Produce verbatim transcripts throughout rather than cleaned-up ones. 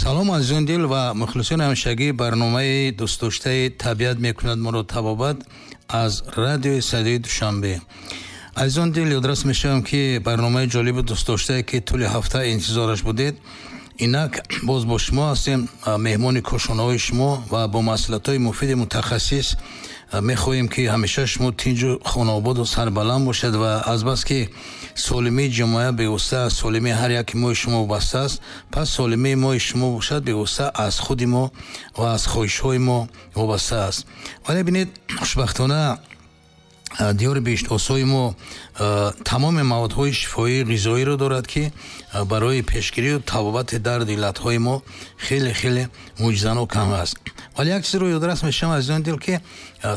Салом, азизон дил ва мухлисони ҳамешагии барномаи дӯстдоштаи «Табиат мекунад моро табобат» аз радиои Садои Душанбе. Азизон дил, ёдрас мешавам, ки барномаи ҷолибу дӯстдоштае, ки тӯли ҳафта интизораш будед, инак боз бо шумо ҳастем, меҳмони кошонаҳои шумо, ва бо маслиҳатҳои муфиди мутахассис мехоҳем, ки ҳамеша шумо тинҷу хонаободу сарбаланд бошед. Ва азбаски солимии ҷомеа бевосита аз солимии ҳар яки мои шумо вобаста аст, пас солимии мои шумо бошад, бевосита аз худи мо ва аз хоҳишҳои мо вобаста аст. Вале бинед, хушбахтона диёри биҳиштосои мо тамоми маводҳои шифоии ғизоиро дорад, ки барои пешгирию табобати дарду иллатҳои мо хеле хеле мӯъҷизанок ҳам аст. Вале як чизро ёдрас мешавам, азизони дил, ки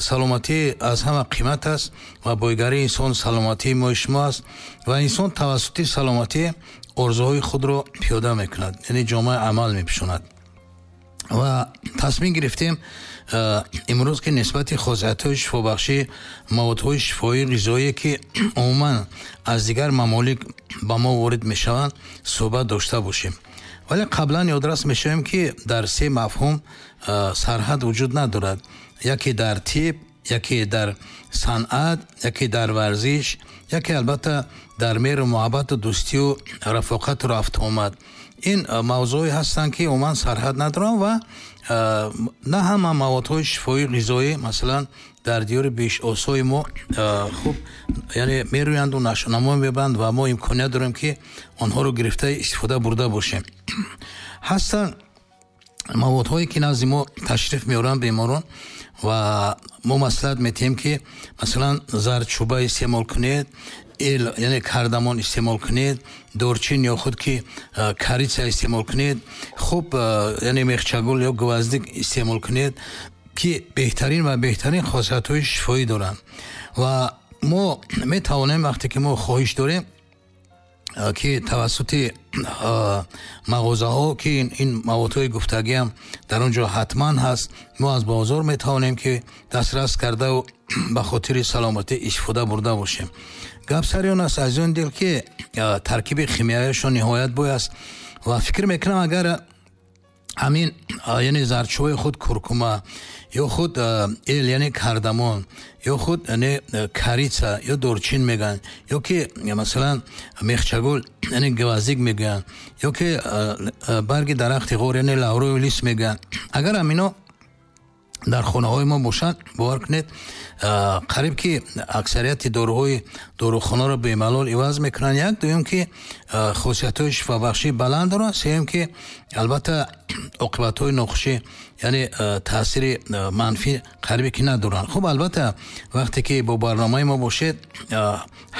саломатӣ аз ҳама қимат аст ва бойгарии инсон саломатии мои шумо аст ва инсон тавассути саломатӣ орзуҳои худро пиёда мекунад, яъне ҷомаи амал мепӯшонад. Ва тасмим гирифтем имрӯз, ки нисбати хосиятҳои шифобахшӣ маводҳои шифоии ғизоие, ки умуман аз дигар мамолик ба мо ворид мешаванд, суҳбат дошта бошем. Вале қаблан ёдрас мешавем, ки дар се мафҳум сарҳад вуҷуд надорад: яке дар тиб, яке дар санъат, яке дар варзиш, яке албатта дар меҳру муҳаббату дӯстию рафоқату рафтуомад. Ин мавзӯъе ҳастанд, ки умуман сарҳад надоранд ва на ҳама маводҳои шифоии ғизоӣ, масалан, дар диёри биҳиштосои мо хуб, яъне мерӯянду нашъунамо мебанд ва мо имконият дорем, ки онҳоро гирифта истифода бурда бошем. Ҳастанд маводҳое, ки назди мо ташриф меоранд беморон ва мо маслиҳат метиҳем, ки масалан зардчӯба истеъмол кунед, эл, яъне кардамон истеъмол кунед, дорчин ё худ ки корица истеъмол кунед, хуб, яъне мехчагул ё гвоздик истеъмол кунед, ки беҳтарин ва беҳтарин хосиятҳои шифоӣ доранд. Ва мо метавонем, вақте ки мо хоҳиш дорем, ки тавассути мағозаҳо, ки ин маводҳои гуфтагиам дар он ҷо ҳатман ҳаст, мо аз бозор метавонем, ки дастрас кардаву ба хотири саломатӣ истифода бурда бошем. Гап сари он аст, азизони дил, ки таркиби химиявиашон ниҳоят бой аст ва фикр мекунам, агар ҳамин, яъне зардчӯбаи худ куркума ё худ эл, яъне кардамон, ё худ, яъне корица ё дорчин мегӯянд, ё ки масалан мехчагул, яъне гвоздик мегӯянд, ё ки барги дарахти ғор, яъне лавровый лист мегӯянд, агар ҳамино дар хонаҳои мо бошанд, бовар кунед, қариб ки аксарияти доруҳои дорухонаро бемалол иваз мекунанд. Як дуюм, ки хосиятҳои шифобахшӣ баланд доранд. Сеюм, ки албатта оқибатҳои нохушӣ, яъне таъсири манфӣ қарибе ки надоранд. Хуб, албатта, вақте ки бо барномаи мо бошед,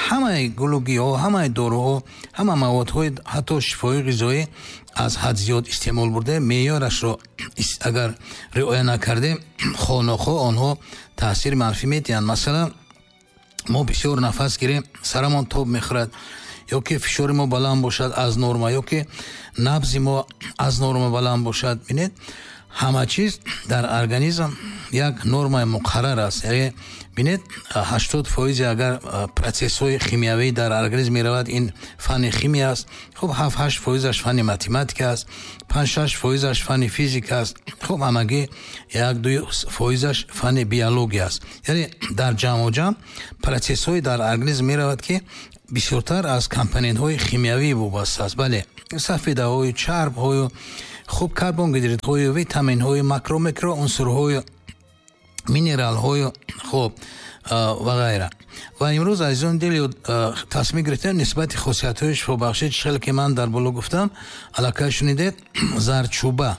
ҳамаи гулу гиёҳ, ҳамаи доруҳо, ҳама маводҳои ҳатто шифоии ғизоӣ аз ҳад зиёд истеъмол бурда, меъёрашро агар риоя накардем, хонохо онҳо таъсири манфӣ медиҳанд. Масалан, мо бисёр нафас гирем, сарамон тоб мехӯрад, ё ки фишори мо баланд бошад аз норма, ё ки набзи мо аз норма баланд бошад. Бинед, ҳама чиз дар организм як нормаи муқаррар аст. Яъне бинед, ҳаштод фоизи агар процессҳои химиявӣ дар организм меравад, ин фанни химия аст. Хуб, ҳафт ҳашт фоизаш фанни математика аст, панҷ шаш фоизаш фанни физика аст, хуб, ҳамагӣ як ду фоизаш фанни биология аст. Яъне дар ҷамъу ҷамъ процессҳои дар организм меравад, ки бисёртар аз компонентҳои химиявӣ вобаста аст. Бале, сафедаҳою чарбҳою, хуб, карбогидридҳою, витаминҳою, макро микро унсурҳою, минералҳою, хуб, ва ғайра. Ва имрӯз, азизони дил, тасмим гирифтем нисбати хосиятҳои шифобахшӣ, чӣ хеле ки ман дар боло гуфтам, аллакай шунидед, зардчӯба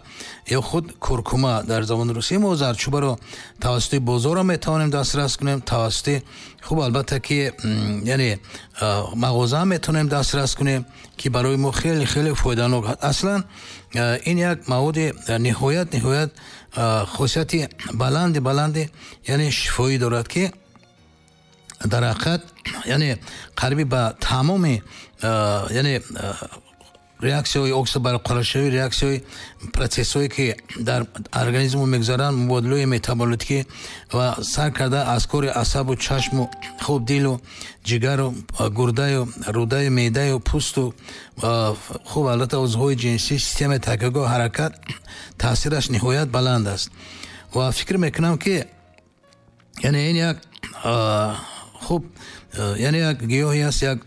ё худ куркума дар забони русӣ. Мо зардчӯбаро тавассути бозорро метавонем дастрас кунем, тавассути, хуб, албатта ки, яъне мағоза метавонем дастрас кунем, ки барои мо хеле хеле фоиданок. Аслан ин як маводи ниҳоят ниҳоят хосияти баланди баланди, яъне шифоӣ дорад, ки дар ҳақиқат, яъне қариби ба тамоми, яъне Реаксияҳои оксидбарқароршавӣ, реаксияҳои процессҳое ки дар организм мегузаранд, мубодилаҳои метаболитикӣ ва сар карда аз кори асабу чашму хуб дилу ҷигару гурдаю рудаю меъдаю пӯсту хуб албатта узвҳои ҷинсӣ, системаи такягоҳ, ҳаракат таъсираш ниҳоят баланд аст. Ва фикр мекунам ки яъне ин як хуб яъне як гиёҳе аст, як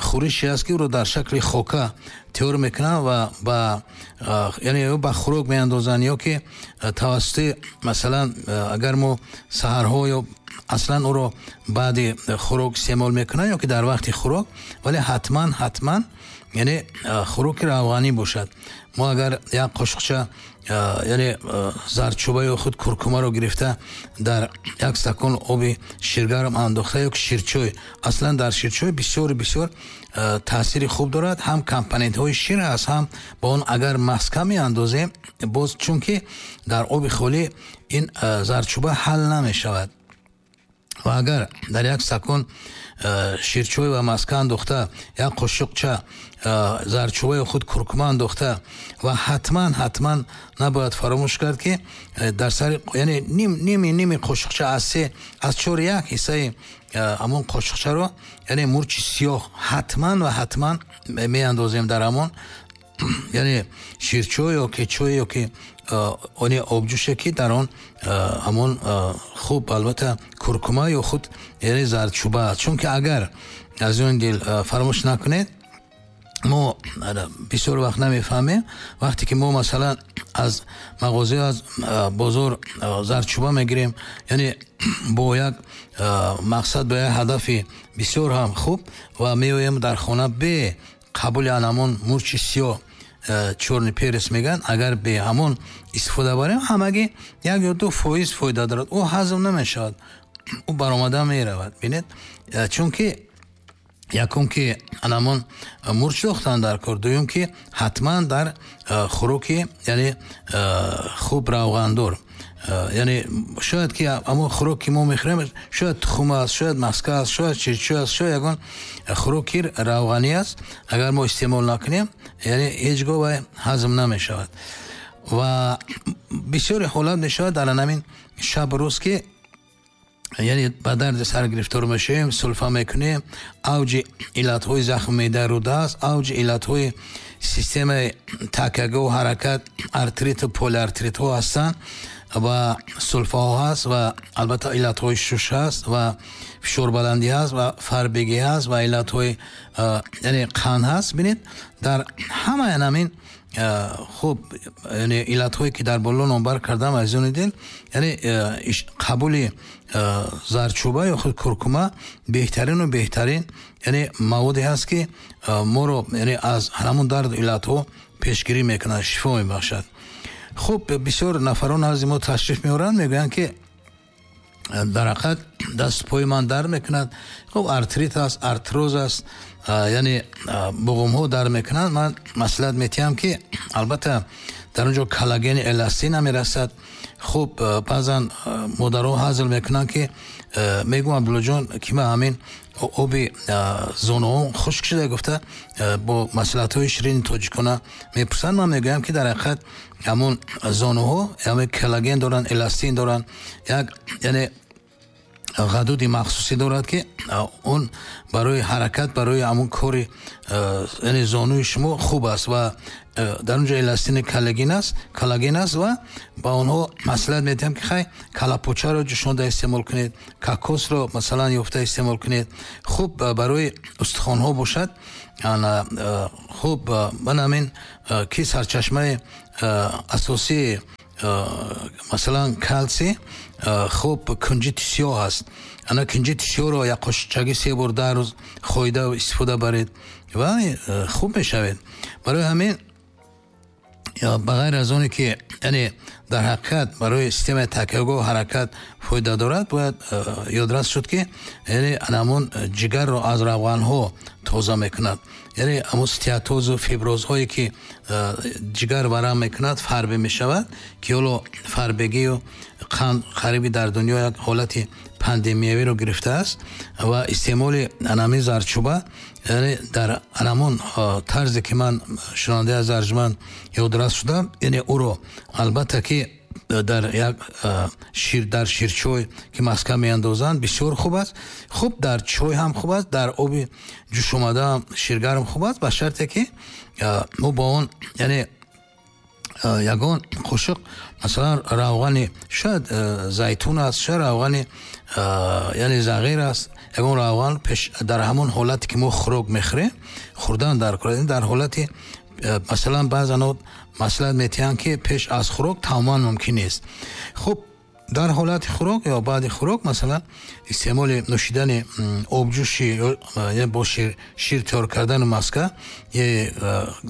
хӯрише аст ки ӯро дар шакли хока тайёр мекунанд ва ба яъне ё ба хӯрок меандозанд ё ки тавассути масалан агар мо саҳарҳо ё аслан ӯро баъди хӯрок истеъмол мекунанд ё ки дар вақти хӯрок, вале ҳатман ҳатман яъне хӯроки равғанӣ бошад. Мо агар як қошуқча яъне зардчӯба ё худ куркумаро гирифта дар як стакон оби ширгарм андохта ё ки ширчой, аслан дар ширчой бисёр бисёр таъсири хуб дорад, ҳам компонентҳои шир аст, ҳам ба он агар маска меандозем боз, чунки дар оби холӣ ин зардчӯба ҳал намешавад. Ва агар дар як стакон ширчой ва маска андохта як қошуқча зардчӯба ё худ куркума андохта ва ҳатман ҳатман набояд фаромӯш кард ки дар сари яъне ним ними ними қошуқча аз се аз чор як ҳиссаи ҳамон қошуқчаро яъне мурчи сиёҳ ҳатман ва ҳатман меандозем дар ҳамон яъне ширчой ё ки чой ё ки оне обҷӯше ки дар он ҳамон хуб албатта куркума ё худ яъне зардчӯба аст. Чунки агар аз он дил фаромӯш накунед, мо бисёр вақт намефаҳмем, вақте ки мо масалан аз мағоза аз бозор зардчӯба мегирем, яъне бо як мақсад, бо як ҳадафи бисёр ҳам хуб ва меоем дар хона бе қабули ҳамон мурчи сиёҳ, чёрный перец мегӯянд, агар бе ҳамон истифода барем, ҳамагӣ як ё ду фоиз фоида дорад, ӯ ҳазм намешавад, ӯ баромада меравад. Бинед, чунки якум ки ҳамон мурч дохтан дар кор, дуюм ки ҳатман дар хӯроки яъне хуб равғандор, яъне шояд ки ҳамон хӯрок ки мо мехӯрем шояд тухм аст, шояд маска аст, шояд ширчой аст, шояд ягон хӯроки равғанӣ аст, агар мо истеъмол накунем яъне ҳеҷ гоҳ вай ҳазм намешавад. Ва бисёре ҳолат мешавад дар ҳамин шаб рӯз ки яъне ба дарди сар гирифтор мешавем, сулфа мекунем, авҷи иллатҳои захми меъдаи рӯда аст, авҷи иллатҳои системаи такягоҳу ҳаракат, артриту полиартритҳо ҳастанд ва сулфаҳо ҳаст ва албатта иллатҳои шуш ҳаст ва фишорбаландӣ ҳаст ва фарбегӣ ҳаст ва иллатҳои яъне қанд ҳаст. Бинед, дар ҳамаи ҳамин хуб яъне иллатҳое ки дар боло номбар кардам, азизони дил, яъне қабули зардчӯба ё худ куркума беҳтарину беҳтарин яъне маводе ҳаст ки моро яъне аз ҳамон дарду иллатҳо пешгирӣ мекунад, шифо мебахшад. Хуб, бисёр нафарон назди мо ташриф меоранд, мегӯянд ки дар ҳақиқат дасту пои ман дард мекунад, хуб артрит аст, артроз аст, яъне буғумҳо дард мекунанд. Ман маслиҳат метиҳам ки албатта дар он ҷо коллагени эластин намерасад. Хуб, баъзан модарҳо ҳазл мекунанд ки мегӯм Абдуллоҷон ки ман ҳамин оби зонуҳо хушк шуда гуфта бо маслиҳатҳои ширини тоҷикона мепурсанд. Ман мегӯям ки дар ҳақиқат ҳамон зонуҳо ҳамин коллаген доранд, эластин доранд, як яъне ғадуди махсусӣ дорад ки он барои ҳаракат, барои ҳамон кори яъне зонуи шумо хуб аст ва дар он ҷо эластини коллаген аст, коллаген аст ва ба онҳо маслиҳат медиҳам ки хай калапочаро ҷӯшонда истеъмол кунед, кокосро масалан ёфта истеъмол кунед. Хуб барои устухонҳо бошад, хуб ман ҳамин ки сарчашмаи асосии масалан калсий хуб кунҷити сиёҳ аст. Ана кунҷити сиёҳро як қошуқчаги се бор дар рӯз хоида истифода баред ва хуб мешавед. Барои ҳамин ба ғайр аз оне ки яъне дар ҳақиқат барои системаи такягоҳ ҳаракат фоида дорад, бояд ёдрас шуд ки яъне ҳамон ҷигарро аз равғанҳо тоза мекунад, яъне ҳамон стеатозу фиброзҳое ки ҷигар варам мекунад фарбе мешавад, ки ҳоло фарбегию қанд қариби дар дунё як ҳолати пандемиявиро гирифтааст ва истеъмоли анами зардчӯба, яъне дар анамон тарзе ки ман шунавандаи аз арҷманд ёдрас шудам, яъне ӯро албатта ки дар як шир, дар ширчой ки маска меандозанд, бисёр хуб аст. Хуб, дар чой ҳам хуб аст, дар оби ҷӯшомада ширгарм хуб аст, ба шарте ки мо бо он, яъне ягон қошуқ, масалан, равғани шояд зайтун аст, шояд равғани, яъне зағир аст, ягон равған пеш дар ҳамон ҳолате ки мо хӯрок мехӯрем, хӯрдан дар кор. Дар ҳолати, масалан, баъзан маслиҳат метиҳанд ки пеш аз хӯрок тамоман мумкин нест. Хуб, дар ҳолати хӯрок ё баъди хӯрок, масалан, истеъмоли нӯшидани обҷӯши бо шир, шир тайёр кардани маска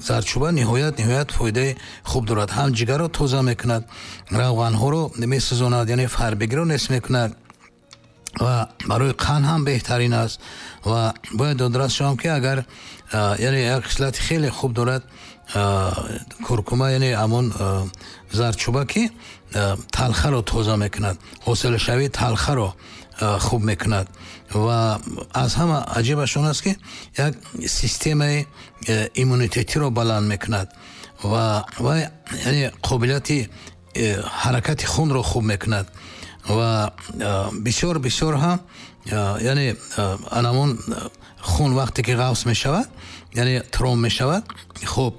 зардчӯба ниҳоят ниҳоят фоидаи хуб дорад. Ҳам ҷигарро тоза мекунад, равғанҳоро месӯзонад, яъне фарбегиро нест мекунад ва барои қанд ҳам беҳтарин аст. Ва бояд ёдрас шавам ки агар, яъне як хислати хеле хуб дорад куркума, яъне ҳамон зардчӯба, ки талхаро тоза мекунад, ҳосилшавии талхаро хуб мекунад. Ва аз ҳама аҷибаш он аст, ки як системаи иммунитетиро баланд мекунад ва яъне қобилияти ҳаракати хунро хуб мекунад ва бисёр бисёр ҳам, яъне анамон хун вақте ки ғафс мешавад, яъне тромб мешавад, хуб,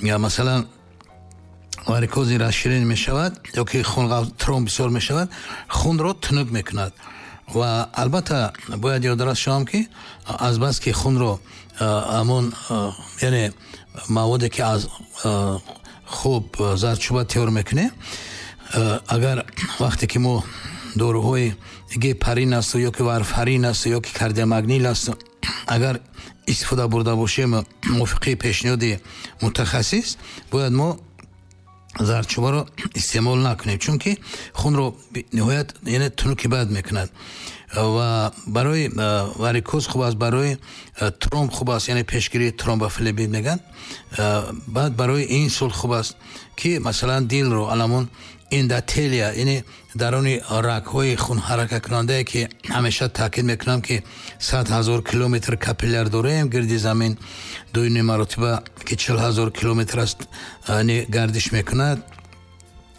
масалан, варикози расширен мешавад ё ки хун тромб бисёр мешавад, хунро тунук мекунад. Ва албатта бояд ёдрас шавам ки азбаски хунро ҳамон, яъне маводе ки аз хуб зардчӯба тайёр мекунем, агар вақте ки мо доруҳои гепарин аст ё ки варфарин аст ё ки кардиомагнил аст, агар истифода бурда бошем мувофиқи пешниҳоди мутахассис, бояд мо зардчӯбаро истеъмол накунем, чунки хунро ниҳоят, яъне тунуки бад мекунад. Ва барои варикоз хуб аст, барои тромб хуб аст, яъне пешгирии тромбофлебит мегӯянд, баъд барои инсулт хуб аст, ки масалан дилро аламон эндотелия, яъне даруни рагҳои хунҳаракаткунандае ки ҳамеша таъкид мекунам ки сад ҳазор километр капилляр дорем гирди замин, дуюми маротиба ки чил ҳазор километр аст, яъне гардиш мекунад.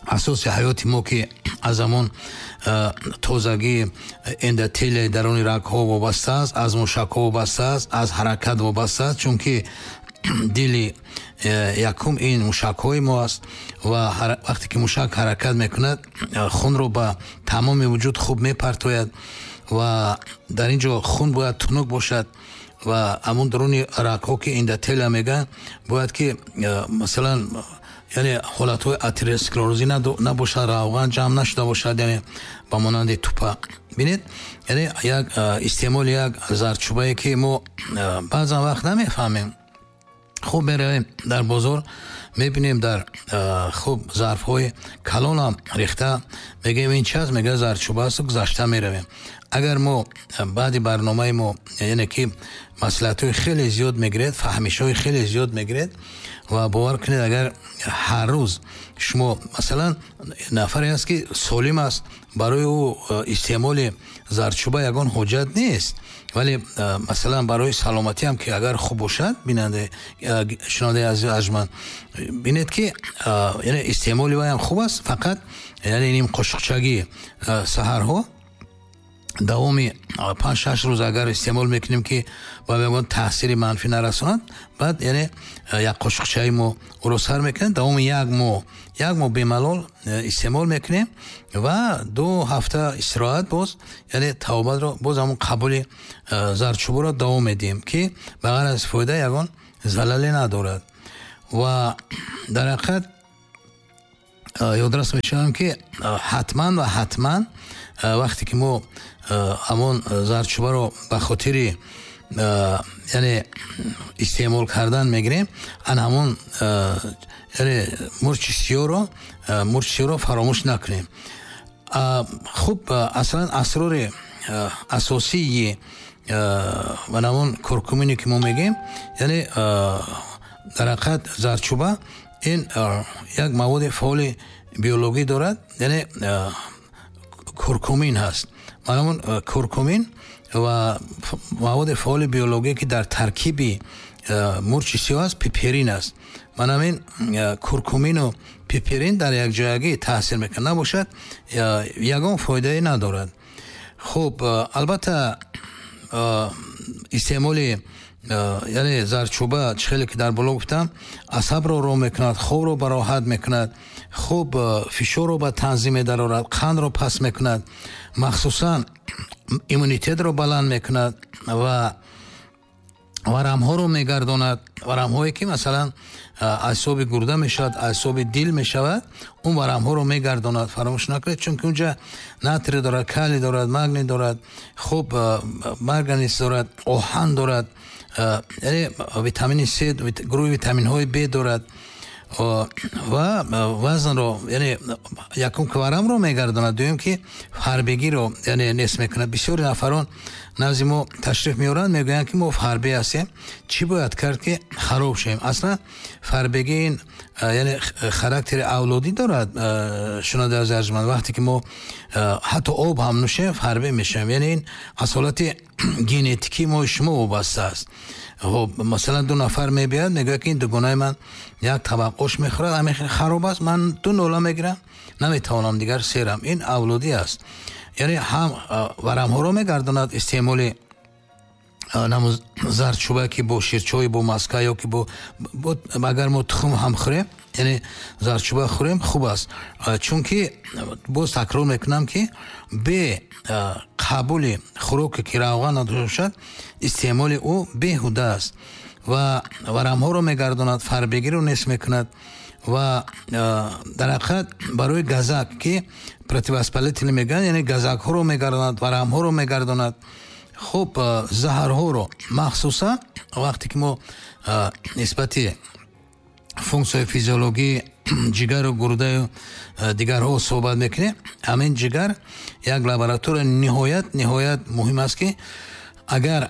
Асоси ҳаёти мо ки аз ҳамон тозагии эндотелияи даруни рагҳо вобаста аст, аз мушакҳо вобаста аст, аз ҳаракат вобаста аст, чунки дили якум ин мушакҳои мо аст ва вақте ки мушак ҳаракат мекунад, хунро ба тамоми вуҷуд хуб мепартояд ва дар ин ҷо хун бояд тунук бошад ва ҳамон даруни рагҳо ки эндотелия мегӯянд, бояд ки масалан, яъне ҳолатҳои атеросклерозӣ набошад, равған ҷамъ нашуда бошад, яъне ба монанди тупа. Бинед, яъне як истеъмоли як зардчӯбае ки мо баъзан вақт намефаҳмем. Хуб, меравем дар бозор, мебинем дар хуб зарфҳои калонам рехта, мегӯем ин чи аст, мегӯяд зардчӯба аст, гузашта меравем. Агар мо баъди барномаи мо, яъне ки маслиҳатҳои хеле зиёд мегиред, фаҳмишҳои хеле зиёд мегиред ва бовар кунед, агар ҳар рӯз шумо, масалан, нафаре аст ки солим аст, барои ӯ истеъмоли зардчӯба ягон ҳоҷат нест, вале масалан барои саломатӣ ҳам ки агар хуб бошад, бинандаи шунавандаи азиз арҷманд, бинед ки яъне истеъмоли вай ҳам хуб аст, фақат яъне ним қошуқчагӣ саҳарҳо давоми панҷ шаш рӯз агар истеъмол мекунем ки ба ягон таъсири манфӣ нарасонад, баъд яъне як қошуқчаи мо ӯро сар мекунем, давоми як моҳ як моҳ бемалол истеъмол мекунем ва ду ҳафта истироҳат, боз яъне тавобатро боз ҳамон қабули зардчӯбаро давом медиҳем ки ба ғайр аз фоида ягон залале надорад. Ва дар ҳақиқат ёдрас мешавам ки ҳатман ва ҳатман вақте ки мо ҳамон зардчӯбаро ба хотири, яъне истеъмол кардан мегирем, ан ҳамон, яъне мурчи сиёҳро мурчи сиёҳро фаромӯш накунем. Хуб, аслан асрори асосии ва ҳамон куркумине ки мо мегӯем, яъне дар ҳақиқат зардчӯба ин як маводи фаъоли биологӣ дорад, яъне куркумин ҳаст. Маънамон куркумин ва маводи фаъоли биология, ки дар таркиби мурчи сиёҳ аст, пиперин аст. Манамин куркумину пиперин дар якҷоягӣ таъсир мекунад, набошад ягон фоидае надорад. Хуб, албатта истеъмоли яъне зардчӯба, чӣ хеле ки дар боло гуфтам, асабро ром мекунад, хобро бароҳат мекунад, хуб фишорро ба танзим медарорад, қандро паст мекунад, махсусан иммунитетро баланд мекунад ва варамҳоро мегардонад. Варамҳое ки масалан аз ҳисоби гурда мешавад, аз ҳисоби дил мешавад, он варамҳоро мегардонад. Фаромӯш накунед, чунки унҷа натрий дорад, калий дорад, магний дорад, хуб марганез дорад, оҳан дорад, яъне витамини С, гурӯҳи витаминҳои Б дорад ва вазнро, яъне якум ки варамро мегардонад, дуюм ки фарбегиро яъне нест мекунад. Бисёри нафарон назди мо ташриф меоранд, мегӯянд ки мо фарбе ҳастем, чӣ бояд кард ки хароб шавем? Аслан фарбегӣ ин яъне характери авлодӣ дорад. Шунавандаи азиз арҷманд, вақте ки мо ҳатто об ҳам нӯшем, фарбе мешавем. Яъне ин аз ҳолати генетикии мо шумо вобаста аст. Хуб, масалан ду нафар мебиёд, мегӯяд ки ин дугонаи ман як табақ ош мехӯрад, ҳамин хеле хароб аст, ман ду нола мегирам, наметавонам дигар серам. Ин авлодӣ аст. Яъне ҳам варамҳоро мегардонад истеъмоли зардчӯба, ки бо ширчой, бо маска ё ки бо агар мо тухм ҳам хӯрем, яъне зардчӯба хӯрем, хуб аст. Чунки боз такрор мекунам, ки бе қабули хӯроке ки равған надошта бошад, истеъмоли ӯ беҳуда аст ва варамҳоро мегардонад, фарбегиро нест мекунад ва дар ҳақиқат барои газак, ки противовоспалительный мегӯянд, яъне газакҳоро мегардонад, варамҳоро мегардонад. Хуб, заҳрҳоро махсусан вақте ки мо нисбати функсияи физиологии ҷигару гурдаю дигарҳо суҳбат мекунем, ҳамин ҷигар як лаборатория ниҳоят ниҳоят муҳим аст, ки агар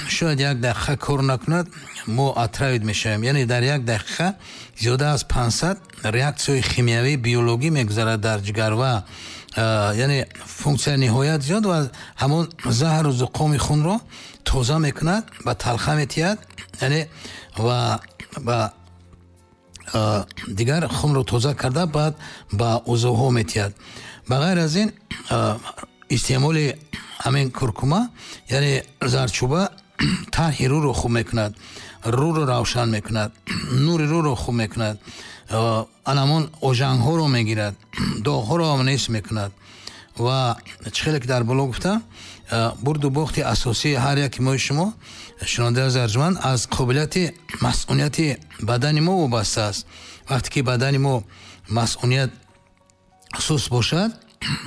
шояд як дақиқа кор накунад, мо отравить мешавем. Яъне дар як дақиқа зиёда аз панҷсад реаксияи химиявии биологӣ мегузарад дар ҷигар ва яъне функсия ниҳоят зиёд ва ҳамон заҳру зуқоми хунро тоза мекунад, ба талха метиҳад, яъне ва ба дигар хунро тоза карда баъд ба узвҳо метиҳад. Ба ғайр аз ин истеъмоли ҳамин куркума, яъне зардчӯба, тарҳи рӯро хуб мекунад, рӯро равшан мекунад, нури рӯро хуб мекунад, анамон ожангҳоро мегирад, доғҳоро ҳам нест мекунад. Ва чӣ хеле ки дар боло гуфтам, бурду бохти асосии ҳар яки мои шумо, шунавандаи азиз арҷманд, аз қобилияти масъунияти бадани мо вобаста аст. Вақте ки бадани мо масъуният суст бошад,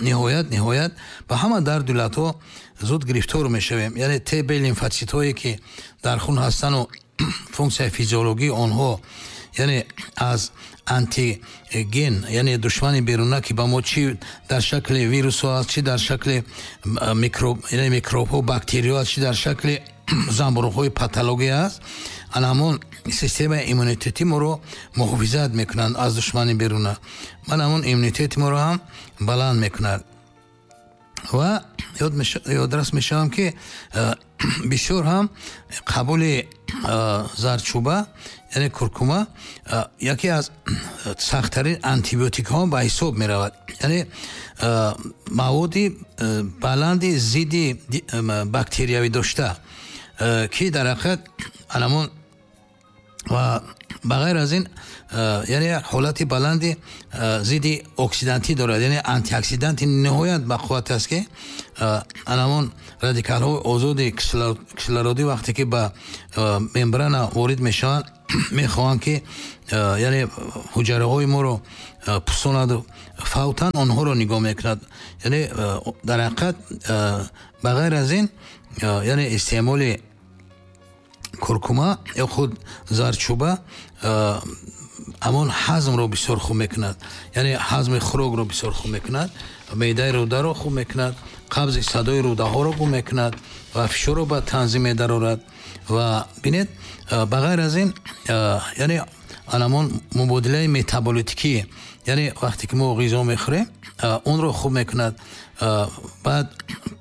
ниҳоят ниҳоят ба ҳама дарду иллатҳо зуд гирифтор мешавем. Яъне Т Б лимфотситҳое ки дар хун ҳастану функсияи физиологии онҳо, яъне аз антиген, яъне душмани беруна, ки ба мо чӣ дар шакли вирусҳо аст, чӣ дар шакли микроб, яъне микробҳо, бактериҳо аст, чӣ дар шакли занбуруғҳои патология аст, ана ҳамон системаи иммунитети моро муҳофизат мекунанд аз душмани беруна. Ман ҳамон иммунитети моро ҳам баланд мекунад. Ва ёдрас мешавам, ки бисёр ҳам қабули зардчӯба, яъне куркума, яке аз сахттарин антибиотикҳо ба ҳисоб меравад. Яъне маводи баланди зидди бактериявӣ дошта, ки дар ҳақиқат анамон ва ба ғайр аз ин яъне як ҳолати баланди зидди оксидантӣ дорад, яъне антиоксиданти ниҳоят бақувват аст, ки анамон радикалҳои озоди кислородӣ вақте ки ба мембрана ворид мешаванд, мехоҳанд ки яъне ҳуҷраҳои моро пусонаду фавтан, онҳоро нигоҳ мекунад. Яъне дар ҳақиқат ба ғайр аз ин яъне истеъмоли куркума ё худ зардчӯба ҳамон ҳазмро бисёр хуб мекунад, яъне ҳазми хӯрокро бисёр хуб мекунад, меъдаи рӯдаро хуб мекунад, қабзи садои рӯдаҳоро хуб мекунад ва фишорро ба танзим медарорад. Ва бинед, ба ғайр аз ин яъне анамон мубодилаи метаболитикӣ, яъне вақте ки мо ғизо мехӯрем, онро хуб мекунад, баъд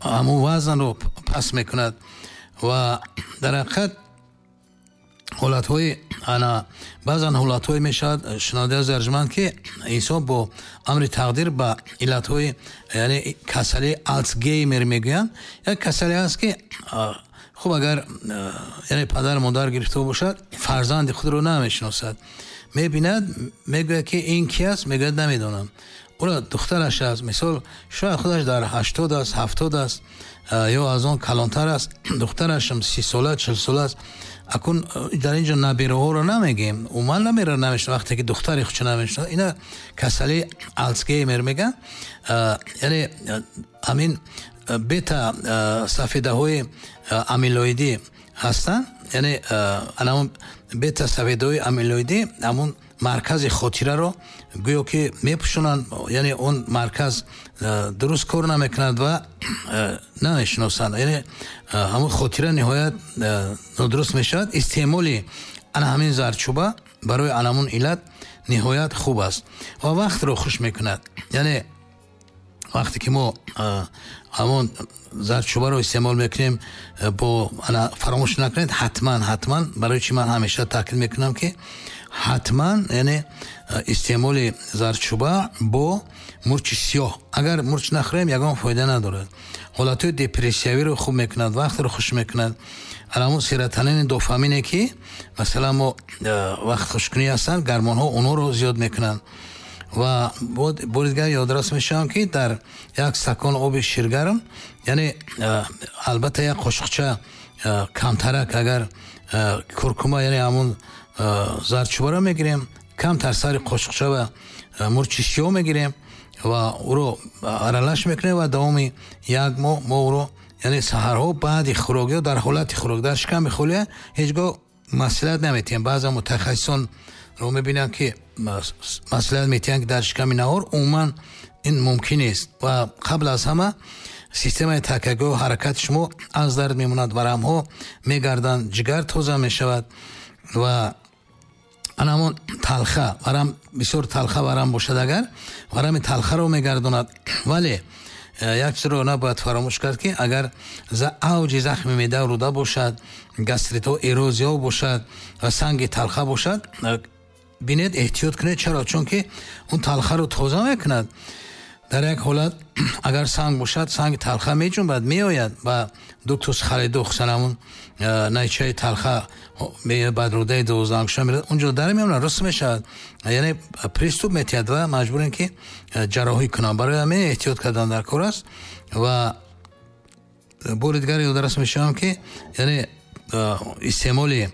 ҳамон вазнро пас мекунад ва дар ҳақиқат ҳолатҳои ана баъзан ҳолатҳое мешавад, шунавандаи азиз арҷманд, ки инсон бо амри тақдир ба иллатҳои, яъне касалии Алцгеймер мегӯянд, як касале ҳаст, ки хуб агар яъне падар модар гирифта бошад, фарзанди худро намешиносад, мебинад, мегӯяд, ки ин ки аст, мегӯяд намедонам. Ӯро духтараш аст, мисол шояд худаш дар ҳаштод аст, ҳафтод аст ё аз он калонтар аст, духтарашам си сола, чил сола аст. Акун дар инҷо набераҳоро намегӯем, умуман набера намешиносад, вақте ки духтари худро намешиносад, ина касалии Алцгеймер мегӯянд. Яъне ҳамин бета сафедаҳои амилоидӣ ҳастанд, яъне ҳамон бета сафедаҳои амилоидӣ ҳамон маркази хотираро гӯё ки мепӯшонанд, яъне он марказ дуруст кор намекунад ва намешиносанд, яъне ҳамон хотира ниҳоят нодуруст мешавад. Истеъмоли ана ҳамин зардчӯба барои анамон иллат ниҳоят хуб аст ва вақтро хуш мекунад. Яъне вақте ки мо ҳамон зардчӯбаро истеъмол мекунем, бо ана фаромӯш накунед, ҳатман ҳатман, барои чӣ ман ҳамеша таъкид мекунам, ки ҳатман яъне истеъмоли зардчӯба бо мурчи сиёҳ. Агар мурч нахӯрем, ягон фоида надорад. Ҳолатҳои депрессиявиро хуб мекунад, вақтро хуш мекунад. Ҳамон серотонини, дофамине, ки масалан мо вақт хушкунӣ ҳастанд, гормонҳо онҳоро зиёд мекунанд. Ва бори дигар ёдрас мешавам, ки дар як стакон оби ширгарм, яъне албатта як қошуқча камтарак агар куркума, яъне ҳамон зардчӯбаро мегирем, камтар сари қошуқча ва мурчи сиёҳ мегирем ва ӯро аралаш мекунем ва давоми як моҳ мо ӯро, яъне саҳарҳо баъди хӯрок ё дар ҳолати хӯрок, дар шиками холия ҳеҷ гоҳ маслиҳат наметиҳем. Баъзан мутахассисонро мебинам, ки маслиҳат метиҳанд, ки дар шиками наҳор, умуман ин мумкин нест ва қабл аз ҳама системаи такягоҳ ҳаракати шумо аз дард мемонад, варамҳо мегарданд, ҷигар тоза мешавад ва ана ҳамон талха варам, бисёр талха варам бошад, агар варами талхаро мегардонад. Вале як чизро набояд фаромӯш кард, ки агар авҷи захми меъда руда бошад, гастритҳо, эрозияҳо бошад ва санги талха бошад, бинед, эҳтиёт кунед. Чаро? Чунки он талхаро тоза мекунад. Дар як ҳолат агар санг бошад, санги талха меҷунбад, меояд ба дуктус халидух, ҳамон найчаи талха баъд рудаи дувоздаҳангушта мерад, унҷо дар мемонад, рост мешавад, яъне приступ метиҳад ва маҷбурем, ки ҷарроҳӣ кунам. Барои ҳамин эҳтиёт кардан дар кор аст. Ва бори дигар ёдрас мешавам, ки яъне истеъмоли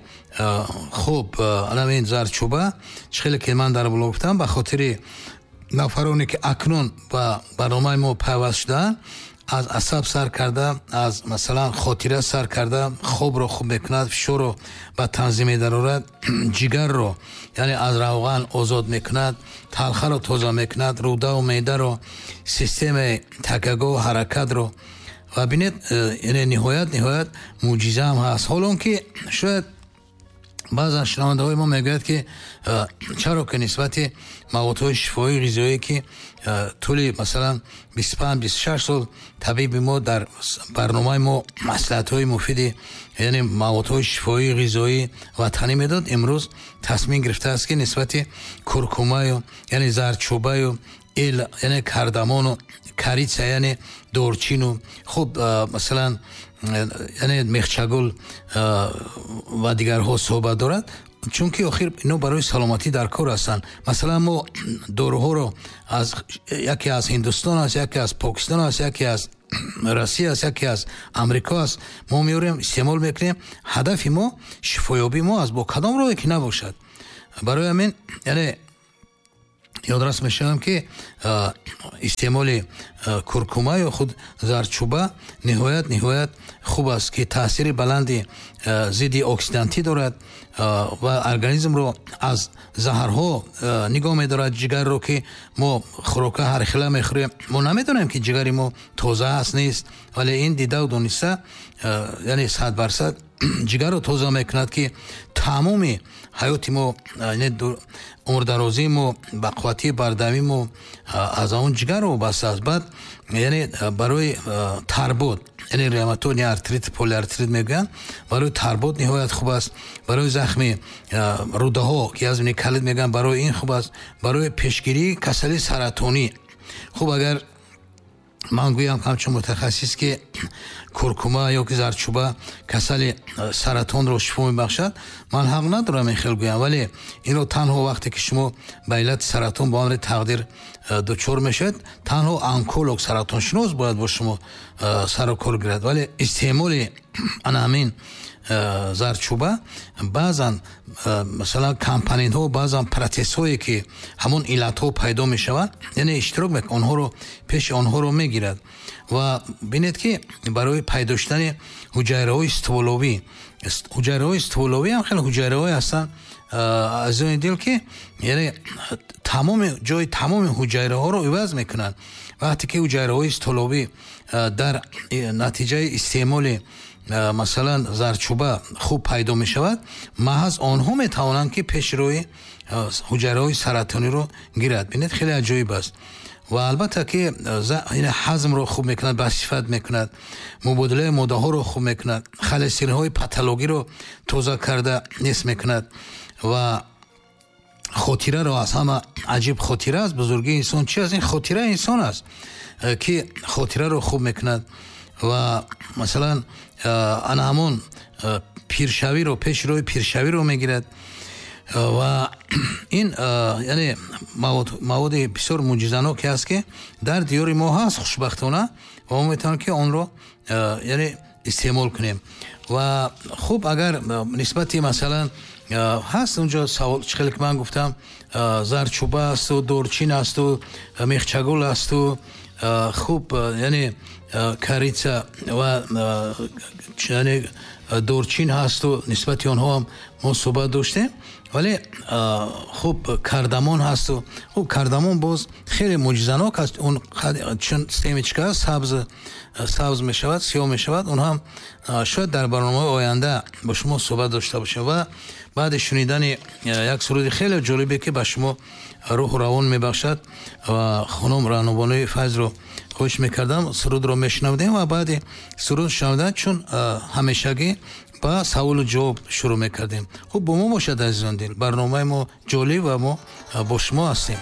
хуб ҳамин зардчӯба, чӣ хеле ки ман дар боло гуфтам, ба хотири нафароне, ки акнун ба барномаи мо пайваст шудаанд, аз асаб сар карда, аз масалан хотира сар карда, хобро хуб мекунад, фишорро ба танзим медарорад, ҷигарро яъне аз равған озод мекунад, талхаро тоза мекунад, рудаву меъдаро, системаи такягоҳ ҳаракатро. Ва бинед, яъне ниҳоят ниҳоят мӯъҷиза ҳам ҳаст. Ҳол он ки шояд баъзан шунавандаҳои мо мегӯяд, ки чаро ки нисбати маводҳои шифоии ғизоие, ки тӯли масалан бисту панҷ бисту шаш сол табиби мо дар барномаи мо маслиҳатҳои муфиди, яъне маводҳои шифоии ғизоии ватанӣ медод, имрӯз тасмим гирифтааст, ки нисбати куркумаю, яъне зардчӯбаю, эл, яъне кардамону, корица, яъне дорчину, хуб масалан яъне мехчагул ва дигарҳо суҳбат дорад, чунки охир ино барои саломатӣ дар кор ҳастанд. Масалан мо доруҳоро аз яке аз Ҳиндустон аст, яке аз Покистон аст, яке аз Россия аст, яке аз Амрико аст, мо меорем, истеъмол мекунем. Ҳадафи мо шифоёбии мо аст, бо кадом роҳе ки набошад. Барои ҳамин яъне ёдрас мешавам, ки истеъмоли куркума ё худ зардчӯба ниҳоят ниҳоят хуб аст, ки таъсири баланди зидди оксидантӣ дорад ва организмро аз заҳрҳо нигоҳ медорад. Ҷигарро, ки мо хӯрока ҳархела мехӯрем, мо намедонем, ки ҷигари мо тоза аст, нест, вале ин дидаву дониста, яъне сад бар сад. ҷигарро тоза мекунад, ки тамоми ҳаёти мо, яъне умрдарозии мо, бақувватии бардавии мо аз он ҷигар вобаста аст. Баъд яъне барои тарбуд, яъне ревматоидный артрит, полиартрит мегӯянд, барои тарбуд ниҳоят хуб аст. Барои захми рӯдаҳо, ки аз колит мегӯянд, барои ин хуб аст. Барои пешгирии касалии саратонӣ хуб. Агар ман гӯям ҳамчун мутахассис, ки куркума ё ки зардчӯба касали саратонро шифо мебахшад, ман ҳақ надорам ин хел гӯям, вале инро танҳо вақте ки шумо ба иллати саратон ба амри тақдир дучор мешавед, танҳо онколог, саратоншинос бояд бо шумо сару кор гирад. Вале истеъмоли ана ҳамин зардчӯба баъзан, масалан, компонентҳо, баъзан протсессҳое, ки ҳамон иллатҳо пайдо мешаванд, яъне иштирок мекунад, онҳоро пеши онҳоро мегирад. Ва бинед, ки барои пайдо шудани ҳуҷайраҳои стволовӣ, ҳуҷайраҳои стволовӣ ҳам хеле ҳуҷайраҳое ҳастанд, азизони дил, ки яъне тамоми ҷои тамоми ҳуҷайраҳоро иваз мекунанд. Вақте ки ҳуҷайраҳои стволовӣ дар натиҷаи истеъмоли, масалан, зардчӯба хуб пайдо мешавад, маҳз онҳо метавонанд, ки пеши рӯи ҳуҷайраҳои саратониро гирад. Бинед, хеле аҷоиб аст. Ва албатта ки ҳазмро хуб мекунад, басифат мекунад, мубодилаи моддаҳоро хуб мекунад, холестеринҳои патологиро тоза карда нест мекунад ва хотираро, аз ҳама аҷиб хотира аст. Бузургии инсон чи аст? Ин хотираи инсон аст, ки хотираро хуб мекунад. Ва масалан, ана ҳамон пиршавиро, пеши роҳи пиршавиро мегирад. Ва ин яъне маводи бисёр мӯъҷизаноке аст, ки дар диёри мо ҳаст, хушбахтона, ва мо метавонем, ки онро яъне истеъмол кунем. Ва хуб, агар нисбати, масалан, ҳаст унҷо савол, чӣ хеле ки ман гуфтам, зардчӯба асту дорчин асту мехчагул асту хуб, яъне корица ва яъне дорчин ҳасту нисбати онҳо ҳам мо суҳбат доштем. Вале хуб, кардамон ҳасту хуб, кардамон боз хеле мӯъҷизанок аст. Он чун семечка сабз сабз мешавад, сиёҳ мешавад, он ҳам шояд дар барномаи оянда бо шумо суҳбат дошта бошем. Ва баъди шунидани як суруди хеле ҷолибе, ки ба шумо рӯҳу равон мебахшад, ва хонум Раънобонуи Файзро хоҳиш мекардам, сурудро мешунавдем ва баъди суруд шунавдан, чун ҳамешагӣ, ба саволу ҷавоб шурӯъ мекардем. Хуб, бо мо бошад, азизон дил, барномаи мо ҷолиб ва мо бо шумо ҳастем.